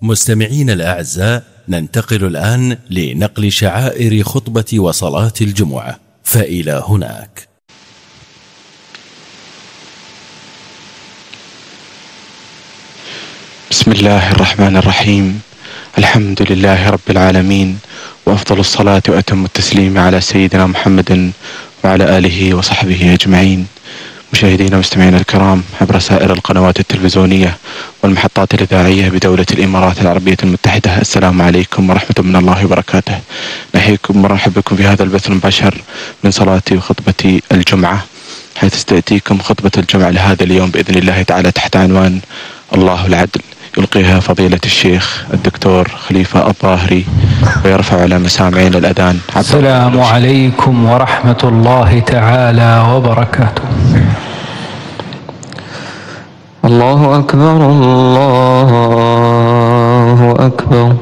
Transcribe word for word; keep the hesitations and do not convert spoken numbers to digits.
مستمعين الأعزاء، ننتقل الآن لنقل شعائر خطبة وصلاة الجمعة، فإلى هناك. بسم الله الرحمن الرحيم. الحمد لله رب العالمين، وأفضل الصلاة وأتم التسليم على سيدنا محمد وعلى آله وصحبه أجمعين. مشاهدينا ومستمعينا الكرام عبر سائر القنوات التلفزيونية والمحطات الإذاعية بدولة الإمارات العربية المتحدة، السلام عليكم ورحمة من الله وبركاته. نحييكم ومرحبا بكم في هذا البث المباشر من صلاتي وخطبة الجمعة، حيث تأتيكم خطبة الجمعة لهذا اليوم بإذن الله تعالى تحت عنوان الله العدل، يلقيها فضيلة الشيخ الدكتور خليفة الظاهري، ويرفع على مسامعين الأذان. السلام عليكم ورحمة الله تعالى وبركاته. الله أكبر الله أكبر.